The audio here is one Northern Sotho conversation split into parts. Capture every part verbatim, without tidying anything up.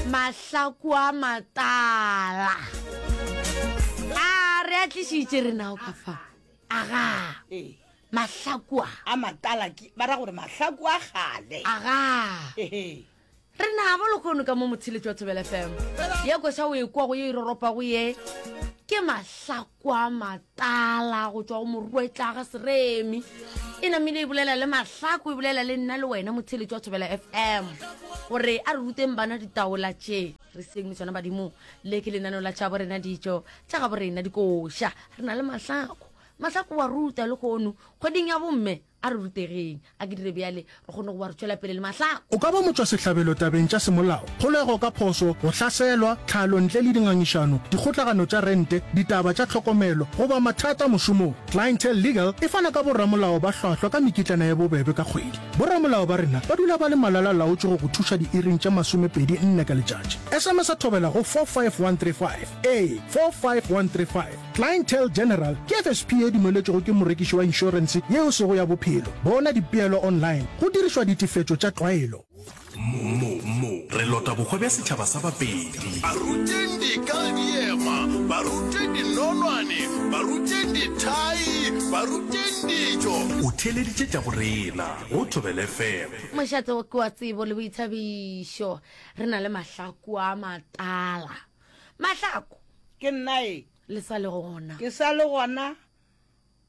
Mahlaku a matala a re a tlišitše re nao ka fa aga. Ee. Mahlaku a a matala ke ba ra gore mahlaku a kgale. Aga. Ehe. Re nabo lekgono ka mo motheletši wa Thobela F M. Ye koša o e kwa go ye e roropago ye ke mahlaku a matala go tšwa go morwetla ga Seremi. E namile e bolela le mahlaku, e bolela le nna le wena motheletši wa Thobela F M gore a re ruteng bana ditaola tše re seng le tšona badimo. Le ke lenaneo la tša borena dijo tša ga borena dikoša. Re na le mahlaku. Mahlaku wa ruta lekgono kgweding ya bomme a re rutegeng. A ke dire bjale re kgone go ba re tšwela pele le mahlaku. O ka ba motšwasehlabelo tabeng tša semolao, kgolego ka phošo, go hlaselwa, tlhalo ntle le dingangišano, dikgotlagano tša rente, ditaba tša tlhokomelo, goba mathata mošomong. Clientele Legal e fana ka boramolao ba hlwahlwa ka mekitlana ye bobebe ka kgwedi. Boramolao ba rena ba dula ba le malala-laotšwe go go thuša diiring tše masomepedi nne ka letšatši. S M S a thobela go four five one three five. Ee, four five one three five. Clientele General ke F S P ye dumeletšwego ke morekiši wa inšorense yeo sego ya bophelo. Bona dipeelo online go dirišwa ditefetšo tša tlwaelo. Mo, mo, re lota bohwa bja setšhaba sa Bapedi. Ba ruteng dika le diema, ba ruteng dinonwane, ba ruteng dithai, ba ruteng dijo. O theeleditše tša borena go Thobela F M. Mošate wo ke wa tsebo le boithabišo. Re na le mahlaku a matala. Mahlaku. Ke nna e. Le sa le gona. Ke sa le gona.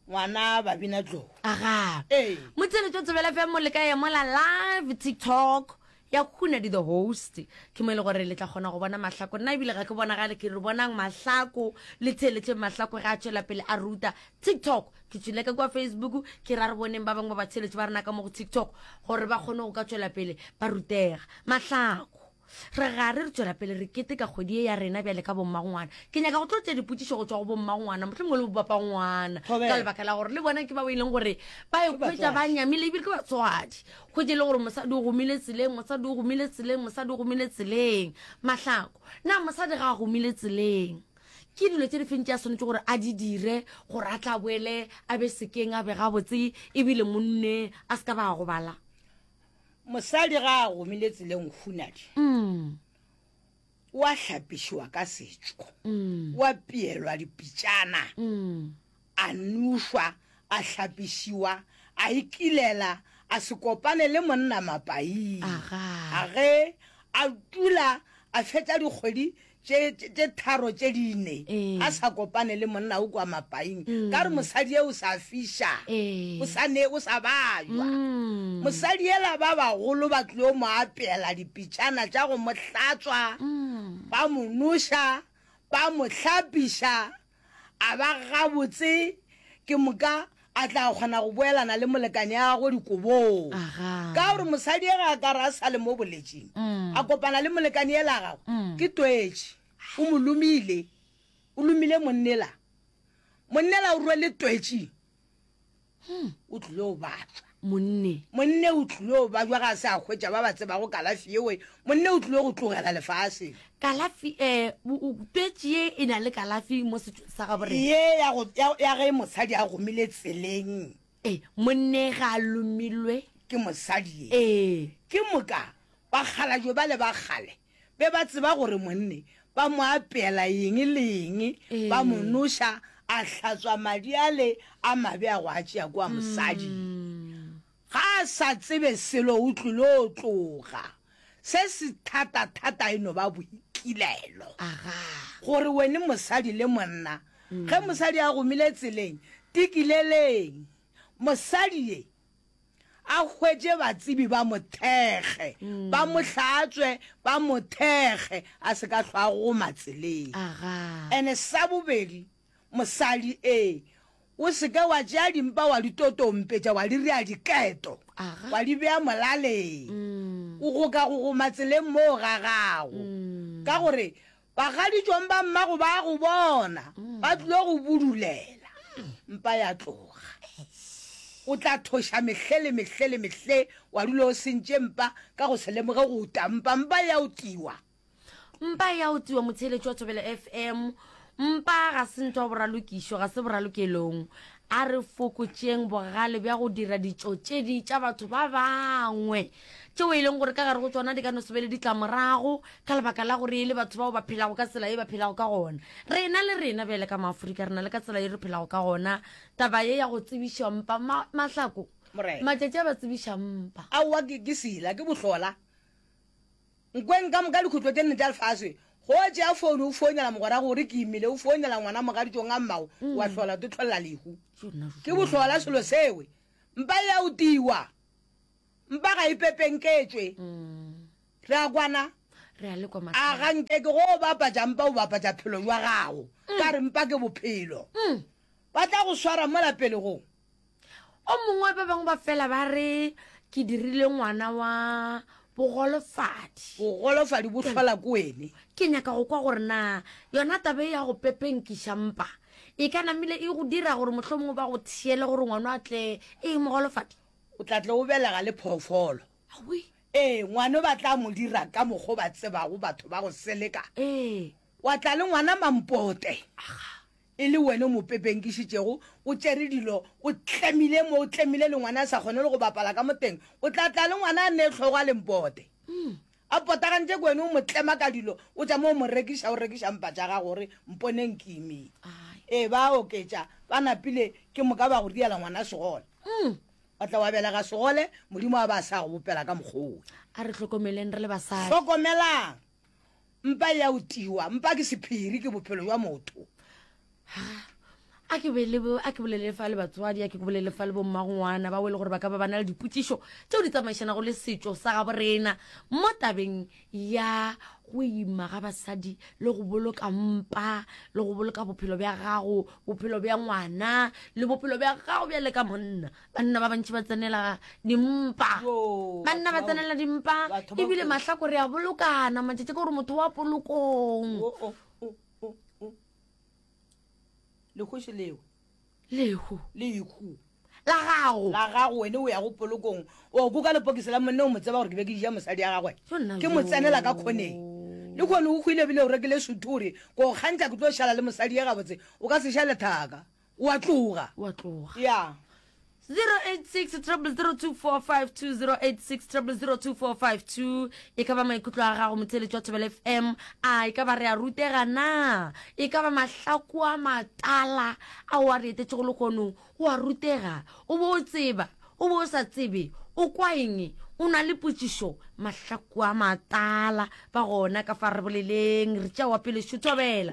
Ngwana Babina Tlou. Aga. Ee. Motheeletši wa Thobela F M le ka emola live TikTok ya Hunadi the host. Ke mo e le gore le tla kgona go bona mahlako. Nna ebile ga ke bonagale ke re bonang mahlako le theeletše mahlako ge a tšwela pele a ruta TikTok. Ke tšwile ka kwa Facebook ke ra re boneng ba bangwe ba batheeletši ba rena ka mo go TikTok gore ba kgone go ka tšwela pele ba rutega. Mahlako. Re gare re tšwela pele re keteka kgwedi ye ya rena bjale ka bommangwana. Ke nyaka go tlo tšea dipotšišo go tšwa go bommangwana, mohlomongwe le bopapangwana, Thobela. ka lebaka la gore le bona ke bao e leng gore ba Ke ikhwetša ba batswadi. nyamile ebile ke batswadi. Hwetše e le gore mosadi o gomile tseleng, mosadi o gomile tseleng, mosadi o gomile tseleng. Mahlako, na mosadi ga a gomile tseleng ke dilo tše di feng tše a swanetše gore a di dire gore a tla boele a be sekeng a be gabotse ebile monne a se ka ba a gobala? Mosadi ga a gomile tseleng Hunadi, Mm. o a hlapišiwa ka setšo, Mm. o a pielwa dipitšana, Mm. a nošwa, a hlapišiwa, a ikilela, a se kopane le monna mapaing. Aga. A ge a dula a fetša dikgwedi tše, tše, tše tharo tše dine, Ee. a sa kopane le monna o kwa mapaing. Mm. Ka re mosadi e o sa fiša, Ee. o sa ne, o sa bajwa. Mm. Mosadi ela ba bagolo ba tlilo mo apeela dipitšana tša go mo hlatswa, Mm. ba mo noša, ba mo hlapiša, a ba gabotse, ke moka a tla kgona go boelana le molekane ya gagwe dikobong. Aga. Ka gore mosadi e ga a ka re a sa le mo boletšing, Mm. a kopana le molekane ela gagwe, Mm. ke twetše, o mo lomile, o lomile monnela. Monnela o rwele twetše, Hmm. o tlile go bajwa. Monne. Monne o tlile go bajwa ga a se a hwetša ba ba tsebago kalafi yeo. Monne o tlile go tlogela lefase. Kalafi, eh, o, o, twetše ye e na le kalafi mo setšong sa gabo rena. Ye ya go, ya, ya ge mosadi a gomile tseleng. Eh, monne ga a lomilwe. Ke mosadi ye. Eh. Ke moka bakgalajwe ba le ba kgale be ba tseba gore monne ba mo apeela eng le eng, Eh. ba mo noša, a hlatswa madi ale a mabe a go a tšea kwa mosadi. Mm. Ga a sa tsebe selo o tlile o tloga. Se se thata-thata e no ba boikilelo. Aga. Gore wene mosadi le monna, Mm. ge mosadi a gomile tseleng, tikileleng. Mosadi ye a hwetše batsebi ba mo thekge, Mm. ba mo hlatswe, ba mo thekge, a se ka hlwa a goma tseleng. Aga. Ene sa bobedi, mosadi e, o se ke wa tšea dimpa wa di totompetša, wa di rea diketo, Aga. wa di bea molaleng. Mm. O go ka go goma tseleng moo ga gago. Mm. Ka gore bagaditšong ba mmago ba go bona, Mm. ba tlilo go budulela. Mpa ya tloga. O tla thoša mehle le mehle le mehle, wa dula o sentše mpa ka go se lemoge go uta mpa, mpa ya o tiwa. Mpa ya o tiwa motheeletši wa Thobela F M. Mpa ga se ntho ya boralokišo, ga se boralokelong. A re fokotšeng bogale bja go dira ditšo tše di tša batho ba bangwe. tšeo e leng gore ka gare go tsona di ka no se be le ditlamorago ka lebaka la gore e le batho bao ba phelago ka tsela ye ba phelago ka gona. Rena le rena bjale ka Maaforika re na le ka tsela ye re phelago ka gona. Taba ye ya go tsebiša mpa, ma, Mahlako, Morena. matšatši a ba tsebiša mpa. Aowa, ke, ke sela, ke bohlola. Nkweng ka moka dikhutlo tše nne tša lefase, go tšea founu o founela mogwera gore ke imile, o founela ngwana mogaditšong a mmago, wa hlola o hlolela lehu. Ke bohlola selo sewe. Mpa e a utiwa. Mpa ga e pepenketšwe. Re a kwana? Re a le kwa A Mahlako. ga nke ke go o bapatša mpa o bapatša phelo jwa gago. Ka re mpa ke bophelo. Ba tla go swara mola pele go. O mongwe ba bangwe ba fela ba re ke dirile ngwana wa bogolofadi. Bogolofadi bo hlola ko wene. Ke nyaka go kwa gore na yona taba e ya go pepenkiša mpa e ka namile e go dira gore mohlomongwe ba go thiele gore ngwana a tle e mogolofadi. O tla tle o belega le phoofolo. Awi. Ee, ngwana ba tla mo dira ka mokgwa o ba tsebago batho ba go seleka. Ee. Wa tla le ngwana mampote. E le wena o mo pepenkišitšego, o tšere dilo, o tlemile mo, o tlemile le ngwana a sa kgone le go bapala ka mo teng. O tla tla le ngwana a ne hlogo a lempote. A potagantše ke wena o mo tlema ka dilo, o tša mo o mo rekiša, o rekiša mpa tša gago gore mponeng ke imile. Ai. Ee, ba oketša, ba napile ke moka ba go diela ngwana segole. Wa tla wa belega segole, Modimo a ba a sa go bopela ka mokgwa owe. A re hlokomeleng re le basadi. Hlokomelang. Mpa e a utiwa, mpa ke sephiri, ke bophelo jwa motho. A ke be le bo, a ke bolele fa le batswadi, a ke bolele fa le bommagongwana bao e le gore ba ka ba ba na le dipotšišo tšeo di tsamaišanago le setšo sa gabo rena mo tabeng ya go ima ga basadi le go boloka mpa le go boloka bophelo bja gago, bophelo bja ngwana le bophelo bja gago bjale ka monna. Banna ba bantši ba tsenela dimpa. Yo, Banna ba batho ba tsenela dimpa, batho ba ebile kotsi. mahlako re a bolokana matšatši ka gore motho wa polokong. O, o, o, o, o. Lehu se leo. Lehu. Lehu. La gago. La gago, wene o ya go polokong. O kuka lepokisi la monna o mo tseba gore ke be ke ja mosadi ya gagwe. Yo nna Ke mo tsenela ka jo. khoneng. Le khone o hwile bile o rekile sutu gore ko kgantša ke tlo šala le mosadi ya gabotse. O ka se šale thaka. O a tloga. O a tloga. Ya. zero eight six triple zero two four five two, zero eight six triple zero two four five two. E ka ba maikutlo a gago motheeletši wa Thobela F M, a e ka ba re a rutega na? E ka ba mahlako a matala ao a re etetšego lehono, o a rutega, o bo o tseba, o bo o sa tsebe, o kwa eng, o na le potšišo, mahlako a matala ba gona ka fa re boleleng, re tšea wa pele šo Thobela.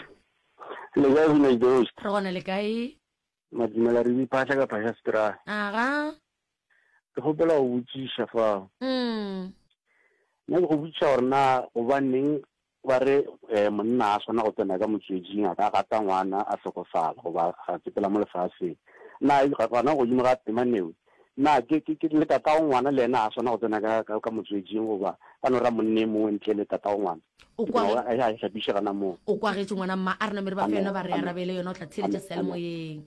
Le kae Village the Host? Re gona le kae? Madumela re diphahla ka phahla setra. Aga. Ke kgopela go botšiša fao. Mm. Nna ke go botšiša gore na gobaneng ba re, eh, monna a swana go tsena ka motsweding a ka gata ngwana a hlokofala goba a tsepela mo lefaseng. Na e, gona godimo ga temanewe, na ke, ke, ke le tatago ngwana le yena a swana go tsena ka, ka, ka motsweding goba ba no ra monne e mongwe ntle le tatago ngwana? O Ke kwa duma gore a, a hlapiše gana moo. O kwagetše ngwana mma, a re namere ba fe Amen, yona ba re amen. arabele yona, o tla theeletša Amen, amen. seyalemoyeng.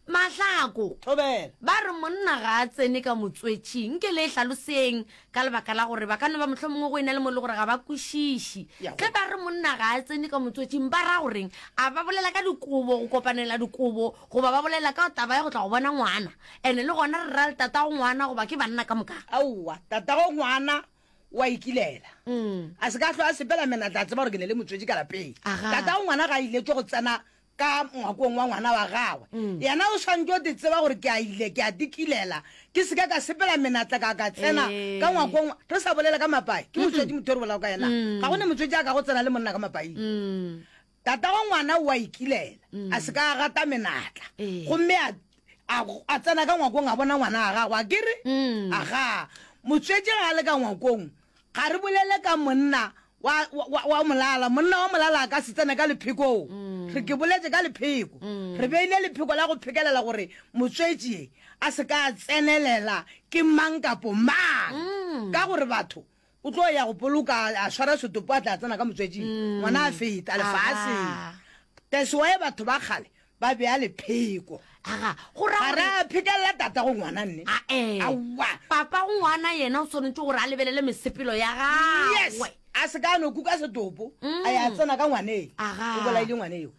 Mahlako. Thobela. Ba re monna ga a tsene ka motswetšing, nke le e hlaloseng ka lebaka la gore ba ka no ba mohlomongwe go ena le mo e le gore ga ba kwešiše. Ya Ge go. ba re monna ga a tsene ka motswetšing, ba ra goreng? A ba bolela ka dikobo, go kopanela dikobo, goba ba bolela ka taba ya go tla go bona ngwana? Ene le gona re ra le tatago ngwana goba ke banna ka moka? Aowa, tatago ngwana wa ikilela. Mm. A se ka hlwa a sepela menatla a tseba gore ke ne le motswetši ka lapeng. Aga. Tatago ngwana ga a iletšwe go tsena ka ngwakong wa ngwana wa gagwe. Mm. Yena o swantše o te tseba gore ke a ile, ke a dikilela, ke se ka ka sepela menatla ka ka tsena Eh. ka ngwakong wa-, re sa bolela ka mapai, ke motswetši motho o re bolelago ka yena. Mm. Ga go ne motswetši a ka go tsena le monna ka mapaing. Mm. Tatago ngwana o a ikilela, Mm. a se ka a gata menatla. Eh. Gomme a, a, a tsena ka ngwakong a bona ngwana wa gagwe, a ke re? Mm. Aga, motswetši ga a le ka ngwakong, ga re bolele ka monna wa, wa, wa, wa molala. Monna wa molala a ka se tsene ka lephekong. Mm. Re ke boletse ka lepheko. Mm. Re beile lepheko la go phekelela gore motswetši a se ka tsenelela ke mang kapo mang. Mm. Ka gore batho o tlo ya go boloka a swara setopo a tla tsena ka motswetšing. Mm. Ngwana a feta lefaseng. Aga. That's why batho ba kgale ba bea lepheko. Aga, go ra Ga gore re a phekelela tata go ngwana nne. A, eh. Aowa. Papa go ngwana yena o swanetše gore a lebelele mesepelo ya Yes. gagwe. A se ka no kuka setopo, Mm. a ya tsena ka ngwaneng. Aga. O bolaile ngwane eo.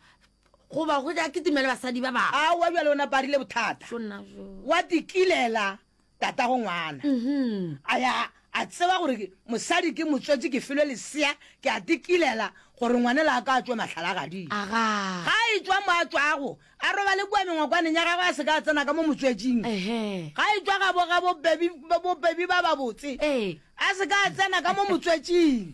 Goba go ja ke timele basadi ba bangwe. Aowa, bjale o naparile bothata. Tšo nna jo. Wa tikilela tata go ngwana. Mhm. A ya, A tseba gore mosadi ke motswetši, ke filwe lesea, ke a tikilela gore ngwanela a ka a tšwe mahlalagading. Aga. Ga a etšwa mo a tšwago, a robale kua mengwakwaneng ya gagwe a se ka a tsena ka mo motswetšing. Ehe. Ga a etšwa gabo ga bobebi, bobebi ba babotse, Ee. a se ka a tsena ka mo motswetšing.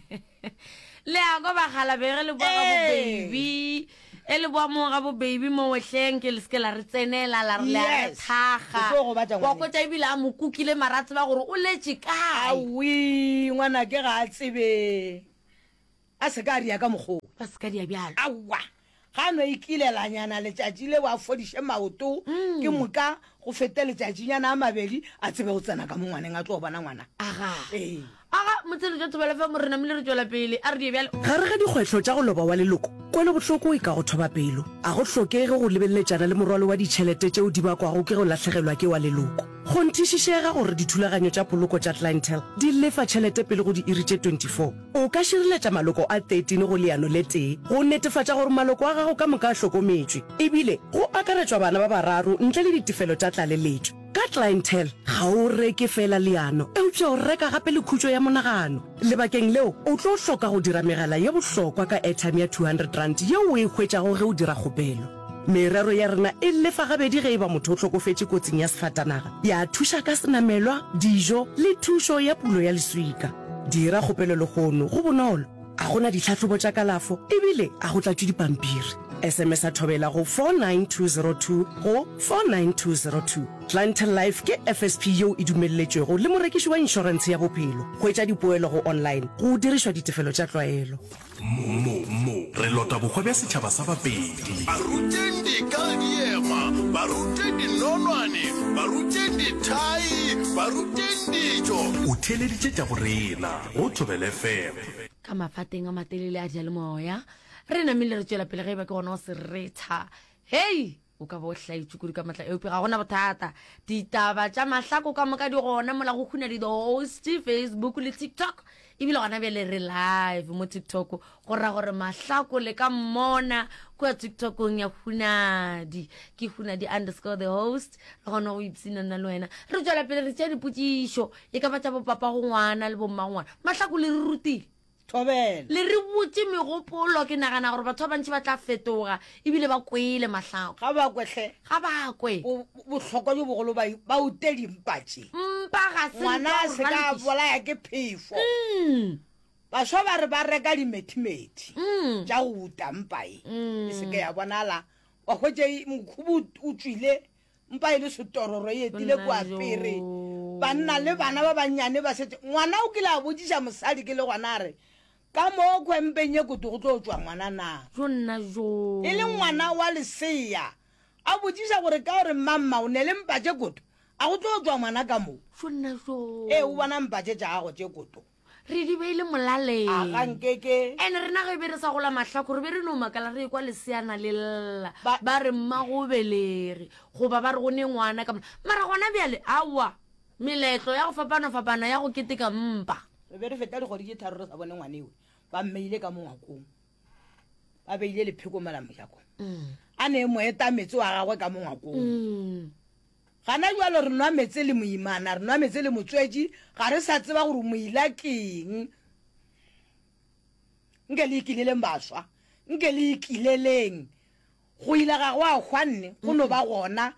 Le a kwa bakgalabje ge le boa ga Ee. bobebi, e le boa mo ga bobebi mo wehleng ke le se ke la re tsenela la re le a re Yes. thakga. O tlo gobatša Wa ngwaneng. hwetša ebile a mo kukile mara a tseba gore o letše kae. Aowi, ngwanake ga a tsebe. A se ka a dia ka mokgwa wo. Ba se ka dia bjalo. Aowa, ga a no ikilelanyana letšatši leo a fodiše maoto, ke moka go fete letšatšinyana a mabedi a tsebe go tsena ka mo ngwaneng a tlo bona ngwana. Aga. Ee. Aga, motshelo jwa Thobela F M re namile re tšwela pele. A re die bjalo. Gare ga dikgwetlho tša go loba wa leloko, kwelobohloko e ka go thoba pelo. A go hlokege go lebeletšana le morwalo wa ditšhelete tšeo di bakwago ke go lahlegelwa ke wa leloko. Kgonthišišega gore dithulaganyo tša poloko tša Clientele di lefa tšhelete pele go diiri tše twenty four. O ka šireletša maloko a thirteen go leano le tee go netefatša gore maloko a gago ka moka a hlokometšwe, ebile go akaretšwa bana ba bararo ntle le ditefelo tša tlaleletšo. Ka Clientele, ga o reke feela leano, eupša o reka gape le khutšo ya monagano. Lebakeng leo, o tlo hloka go dira megala ye bohlokwa ka airtime ya two hundred rand yeo o e hwetšago ge o dira kgopelo. Merero ya rena e lefa gabedi ge e ba motho o hlokofetše kotsing ya sefatanaga, ya thuša ka senamelwa, dijo le thušo ya pulo ya leswika. Dira kgopelo lehono, go bonolo, a go na ditlhahlobo tša kalafo ebile a go tlatšwe dipampiri. S M S a thobela go four nine two zero two go four nine two zero two. Clientele Life ke F S P yeo e dumelletšwego le morekiši wa inšorentshe ya bophelo. Hwetša dipoelo go online go dirišwa ditefelo tša tlwaelo. Mo, mo, re lota bohwa bja setšhaba sa Bapedi. Ba ruteng dika diema, ba ruteng dinonwane, ba ruteng dithai, ba ruteng dijo. O theeleditše tša borena go Thobela F M. Ka mafateng a matelele a diyalemoya, re namile re tšwela pele ge e ba ke gona o se retha. Hei, o ka ba o hlaetše kudu ka matla, eupša ga gona bothata. Ditaba tša mahlako ka moka di gona mola go Hunadi the Host, Facebook le TikTok. Ebile gona bjale re live mo TikTok, go ra gore mahlako le ka mmona kua TikTokong ya Hunadi. Ke Hunadi underscore the host, re kgona go ipshina nna le wena. Re tšwela pele re tšea dipotšišo, e ka ba tša bopapa go ngwana le bomma go ngwana. Mahlako le re rutile. Thobela. Le re botše megopolo, ke nagana gore batho ba bantši ba tla fetoga ebile ba kwele mahlako. Ga ba kwe hle. Ga ba kwe. Bo-, bohlokwa jo bogolo ba, ba ute dimpa tše. Mpa ga se Ngwana mpa a se ka ralokisa. bolaya ke phefo. Mm. Baswa ba re ba reka dimethimeth Mm. tša go uta mpa e. Mm. E se ke ya bonala. Wa hwetša e, mokhubu o tšwile, mpa e le setororo e etile Nna kua jo. pere. Banna le bana ba bannyane ba setse. Ngwana o kile a botšiša mosadi ke le gona a re, ka mo khwempeng ye koto go tlo tšwa ngwana na? Jo nna jo. E le ngwana wa lesea. A botšiša gore ka gore mamma o ne le mpa tše koto, a go tlo tšwa ngwana ka mo? Jo nna jo. Ee, o bona mpa tše tša gago tše koto. Re di beile molaleng. A ga nkeke. Ene rena ge be re sa gola mahlako, re be re no makala re ekwa leseana le lla. Ba- Ba re mmago belege, goba ba re go ne ngwana ka mo-, mara gona bjale, aowa, meletlo ya go fapana-fapana ya go keteka mpa. Re be re feta dikgwedi tše tharo re sa bone ngwanewe, ba mmeile ka mo ngwakong. Ba beile lepheko mola mojakong. Mm. A ne mo eta metse wa gagwe ka mo ngwakong. Mm. Gana jwalo re nwa metse le moimana, re nwa metse le motswetši, ga re sa tseba gore moila keng. Nke le ikileleng baswa, nke le ikileleng. Go ila ga go a hwa nne, go no ba gona.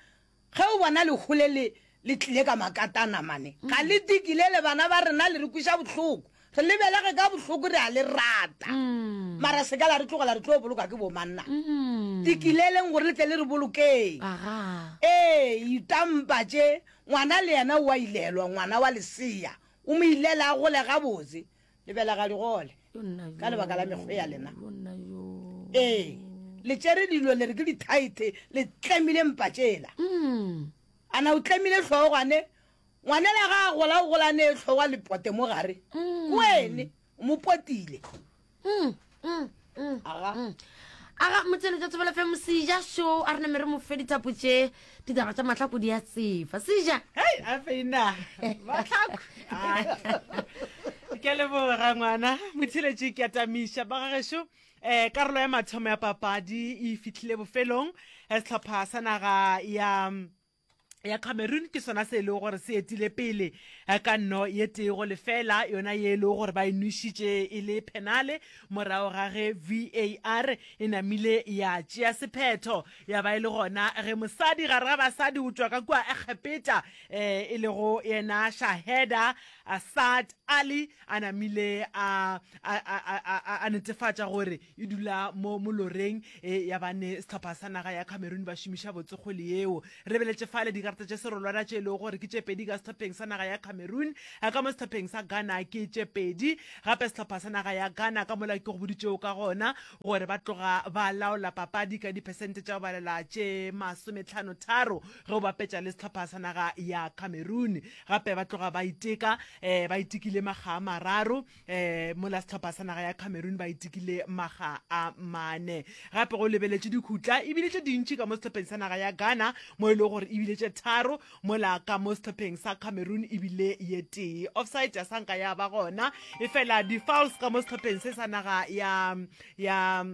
Ge o bona lehu le le, le tlile ka makatana mane, ga le tikilele bana ba rena le re kweša bohloko. Re lebelege ka bohloko re a le rata. Mm. Mara se ka la re tlogela re tlo boloka ke bomanna. Mm. Tikileleng gore le tle le re bolokeng. Aga. Ee, itampa tše, ngwana le yena o a ilelwa, ngwana wa lesea. O mo ilela a gole gabotse. Lebelega digole. Yo nna yo. Ka lebaka la mekgwa ya lena. Yo nna yo. Ee, le tšere dilo le re ke dithaete, le tlemile mpa tšela. Mm. Ana o tlemile hlogwane, ngwanela ga a gola, o gola ne hlogwa le pote mo gare. Mm. Ke wene, o mo potile. Mm, mm, mm, Aga. mm. Aga, motswedi tša Thobela F M, Seja show, a re name re mo fe dithapo tše, ditaba tša mahlako di a tsefa. Seja. Hei, a feina. Mahlako. Ke a leboga ngwana, motheletši ke a tamiša. Ba gagešo, eh, karolo ya mathomo ya papadi e fihlile bofelong. Eh, sehlopha sa naga ya ya Cameroon ke sona se e lego gore se etile pele eh, ka nno ye tee go lefela, yona ye e lego gore ba e nwešitše e le phenale morago ga ge V A R e namile ya tšea sephetho, ya ba e le gona ge mosadi gare ga basadi o tšwa ka kua Egepeta eh, e lego yena Shaheda Saad Ali a namile a, a, a, a, a, a netefatša gore e dula mo moloreng e, ya bane sehlopha sa naga ya Cameroon ba šomiša botse kgwele yeo. Re lebeletše fale dikarata tše serolwana tše e lego gore ke tše pedi ka sehlopheng sa naga ya Cameroon, ka mo sehlopheng sa Ghana ke tše pedi. Gape sehlopha sa naga ya Ghana ka mola ke go boditšego ka gona gore ba tloga ba laola papadi ka diphesente tša go balela tše masometlhano tharo ge o bapetša le sehlopha sa naga ya Cameroon. Gape ba tloga ba iteka, eh, ba itekile makga a mararo, eh, mola sehlopha sa naga ya Cameroon ba itekile makga a mane. Gape go lebeletše dikhutla e bile tše dintši ka mo sehlopheng sa naga ya Ghana, mo e lego gore e bile tše tharo, mola ka mo sehlopheng sa Cameroon e bile ye tee. Offside ya sanka ya ba gona, efela di-fouls ka mo sehlopheng se sa naga ya ya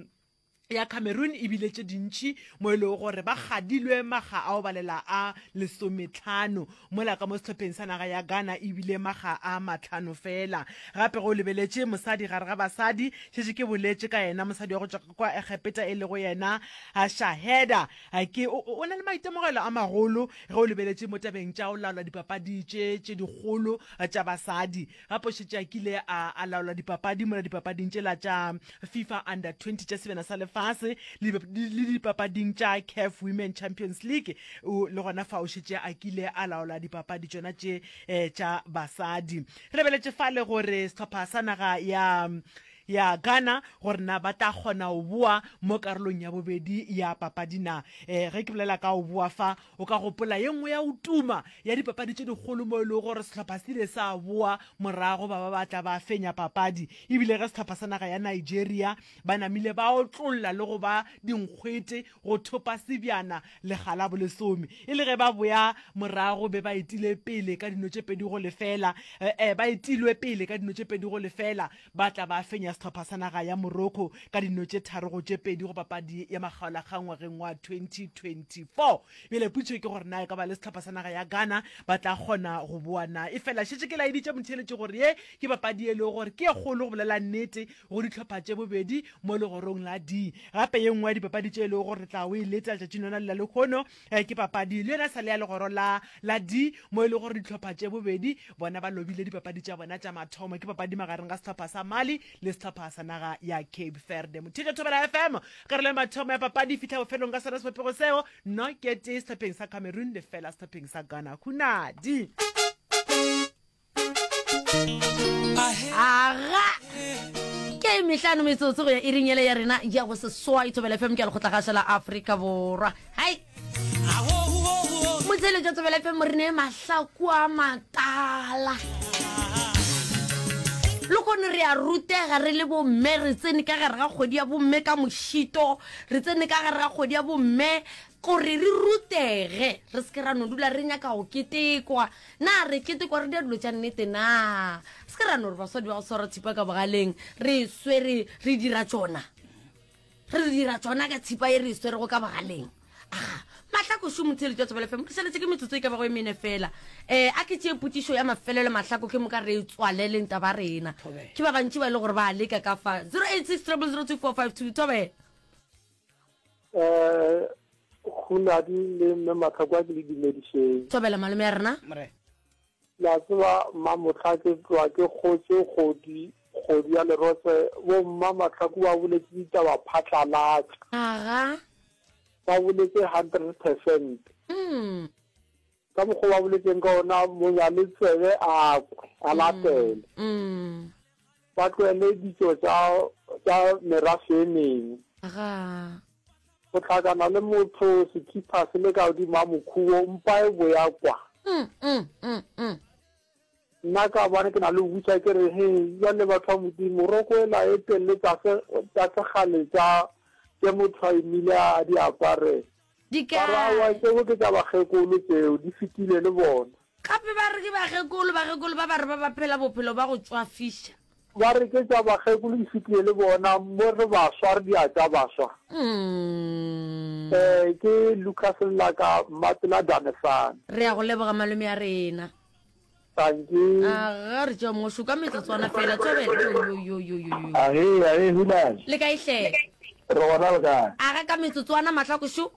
ya Cameroon e bile tše dintši, mo e lego gore ba kgadilwe makga a go balela a lesometlhano, mola ka mo sehlopheng sa naga ya Ghana e bile makga a mahlano feela. Gape ge o lebeletše mosadi gare ga basadi, šetše ke boletše ka yena, mosadi wa go tšwa kwa Egepeta e lego yena Shaheda, ke o, o na le maitemogelo a magolo ge o lebeletše mo tabeng tša go laola dipapadi tše tše dikgolo tša basadi. Gape o šetše a kile a, a laola dipapadi mola dipapading tšela tša FIFA Under twenty tša Sebjana sa Lefase le, le dipapading tša CAF Women Champions League. O, le gona fa o šetše a kile a laola dipapadi tšona tše eh, tša basadi. Re lebeletše fale gore sehlopha sa naga ya ya Ghana gore na ba tla kgona go boa mo karolong ya bobedi ya papadi na. Eh, ge ke bolela ka go boa fa, o ka gopola ye nngwe ya go tuma ya dipapadi tše dikgolo mo e lego gore sehlopha se ile sa boa morago ba ba ba tla ba fenya papadi. E bile ge sehlopha sa naga ya Nigeria ba namile ba otlolla le go ba dinkgwete go thopa sebjana lekga la bolesome. E le ge ba boya morago be ba etile pele ka dino tše pedi go lefela, eh, ba etilwe pele ka dino tše pedi go lefela, ba tla ba fenya sehlopha sa naga ya Morocco ka dino tše tharo go tše pedi go papadi ya makgaolakgang ngwageng wa twenty twenty four. Bjale potšišo ke gore na e ka ba le sehlopha sa naga ya Ghana ba tla kgona go boa na? Efela šetše ke laeditše motheeletši gore ye ke papadi e lego gore ke ye kgolo go bolela nnete go dihlopha tše bobedi mo legorong la D. Gape ye nngwe ya dipapadi tše e lego gore re tla o e leta letšatšing lona le la lehono ke papadi le yona sa le ya legoro la la D mo e lego gore dihlopha tše bobedi bona ba lobile dipapadi tša bona tša mathomo. Ke papadi magareng ga sehlopha sa Mali le sehlopha sa naga ya Cape Verde. Motheetša Thobela F M, karolo ya mathomo ya papadi e fihla bofelong ka sona sebopego seo, no ke tee sehlopheng sa Cameroon, lefela sehlopheng sa Ghana. Hunadi. Aga ke mehlano metsotso go ya iring ele ya rena ya go seswai. Thobela F M ke ya lekgotlagašo la Afrika Borwa. Hai motseletšo Thobela F M, re ne mahlaku a matala le kgone re a rutega re le bomme. Re tsene ka gare ga kgwedi ya bomme ka mošito, re tsene ka gare ga kgwedi ya bomme gore re rutege, re se ke ra no dula re nyaka go ketekwa. Na re ketekwa re dia dilo tša nnete? Na se ke ra no re basadi ba go swara thipa ka bogaleng, re swere re dira tšona, re dira tšona ka thipa e re e swerego ka bogaleng. Aga Mahlako šo motheletši wa Thobela F M, re šaletse ke metsotso e ka bago e mene fela. um a ke tšee potšišo ya mafelelo Mahlako, ke moka re e tswaleleng taba rena. Ke ba bantši ba e le gore ba leka ka fa zero eight six triple zero two four five two. Thobela. um Hunadi le mme Matlhako, a ke le dumedišeng. Thobela malome ya rena. La tseba mmamotlha, ke tloa ke kgotse kgodi kgodi ya lerotse. Bo mma Matlhako ba boletse ditaba phatlalatša. Aga. Ba boletse hundred percent. Mm. Ka mokgwa ba boletseng ka ona, monyale tsebe a kwe a latele. Mm. Ba tlohele ditšo tša tša merafe e mengwe. Aga. Go hlakana le motho sekhipha se le ka godimo ga mokhubo, mpa e boya kwa. Mm, mm, mm, mm. Nna ka bone ke na le go botša ke re, he bjale batho ba Modimo, roko ela e telele tsa se tsa sekgale tša tše motho a imile a di apare. Di Ba re aowa kae? Tšeo ke tša bakgekolo, tšeo di fetile le bona. Gape ba re ke bakgekolo, bakgekolo ba ba re ba ba phela bophelo ba go tšwafiša. Ba re ke tša bakgekolo di fetile le bona, mo re baswa re di a tša baswa. Mm. Eh, ke Lucas Lelaka, Mmapela Danesane. Re a go leboga malome a rena. Tanki. Aga re tšea mongwe šoka metsotswana fela thobela. Yo yo yo yo yo yo. Age, age, Hunane. Le kae hle? Re gona le kae? Aga ka metsotswana Mahlako šo.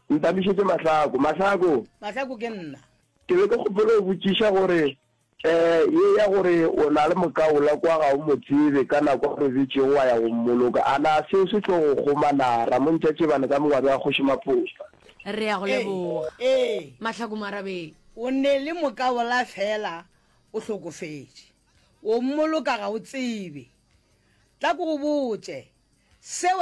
Ntamišetše Mahlako. Mahlako. Mahlako ke nna. Ke be ke kgopela go botšiša gore eh ye ya gore o na le mokaola kwa ga o mo tsebe ka nako a robetšego wa ya go mmoloka, a na seo se tlo go kgoma na? Ramontša Tšebane ka Mongwabi wa Kgoši Maphopa. Re a go leboga. Ee. Mahlako Moarabeng. O ne le mokaola fela o hlokofetše. O mmoloka ga o tsebe. Tla ke go botše, seo